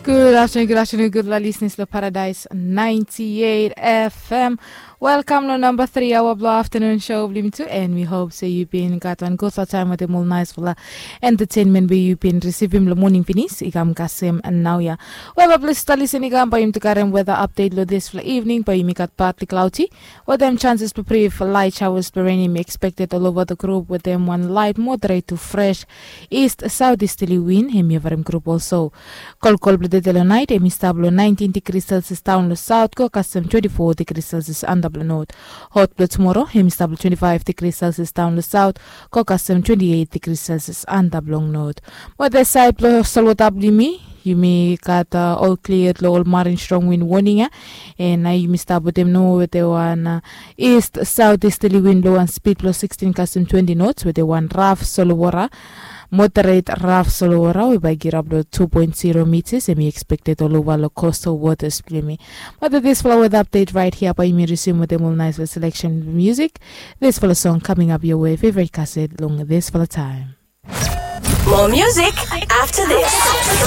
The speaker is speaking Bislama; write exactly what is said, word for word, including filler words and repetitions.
Gud aftenun, gud aftenun, gudfala lisnis long Paradise ninety-eight F M. Welkam long namba tri aoa blong aftenun show blong yumi tu, and we hope se yu bin gat wan gudfala taem wetem ol naesfala entertainment we yu bin risivim long moning finis i kam kasem naoia. Wel, bae blong stap lisin i kam, bae yumi tu karem weather update long disfala evening. Bae yumi gat partly cloudy wetem chances blong brief light showers blong rain hemi expected all over the group wetem wan light moderate to fresh east southeasterly wind hemi favorim group also. Kolkol blong tede long naet hemi stap long nineteen degrees Celsius daon long south go kasem twenty-four degrees Celsius antap long north. Hot blong tumoro hemi stap long twenty-five degrees Celsius daon long south go kasem twenty-eight degrees Celsius antap long north. Wetem saed blong solwota blong yumi, yumi gat ol klia long ol marin strong wind warning ya. And nao yumi stap wetem nao wetem wan east southeasterly wind blong wan speed blong sixteen kasem twenty knots wetem wan raf solowota, moderate raf solowota we bae i kirap long two point zero meters hemi expected all over long coastal waters blong yumi. But disfala weather update right here bae yumi resume wetem ol naesfala selection music. Disfala song coming up your way, favorite cassette long disfala taem. More music after this.